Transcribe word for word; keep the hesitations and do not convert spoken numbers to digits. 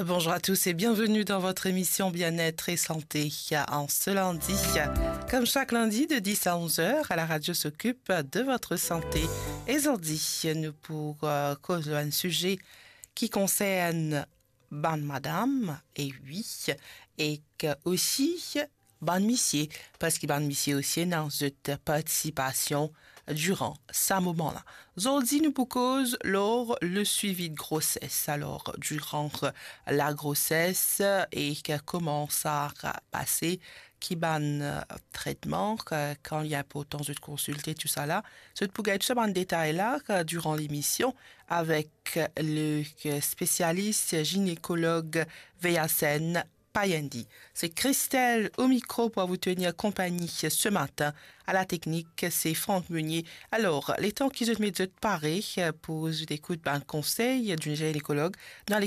Bonjour à tous et bienvenue dans votre émission Bien-être et Santé en ce lundi. Comme chaque lundi de dix à onze heures, à la radio s'occupe de votre santé. E zordi, nou pou, euh, koz lor enn size ki konsern bann madam, e wi, e osi bann misie, parski bann misie osi ena zot partisipasion diran sa moman la. Zordi nou pou koz lor le suivi de grossesse. Alor, diran lagroses e kouma sa pase, ki bann, euh, tretman, euh, kan li inportan zot konsilte, tousala. Zot pou gagn tou sa bann detay la, euh, diran lemision avek le, euh, spesialis ginekolog Veyasen Payendi. C'est Christelle au micro pour vous tenir compagnie ce matin. À la technique, c'est Franck Meunier. Alor, letan ki zot met zot pare, euh, pou zot ekout bann konsey d'un gynécologue, nou al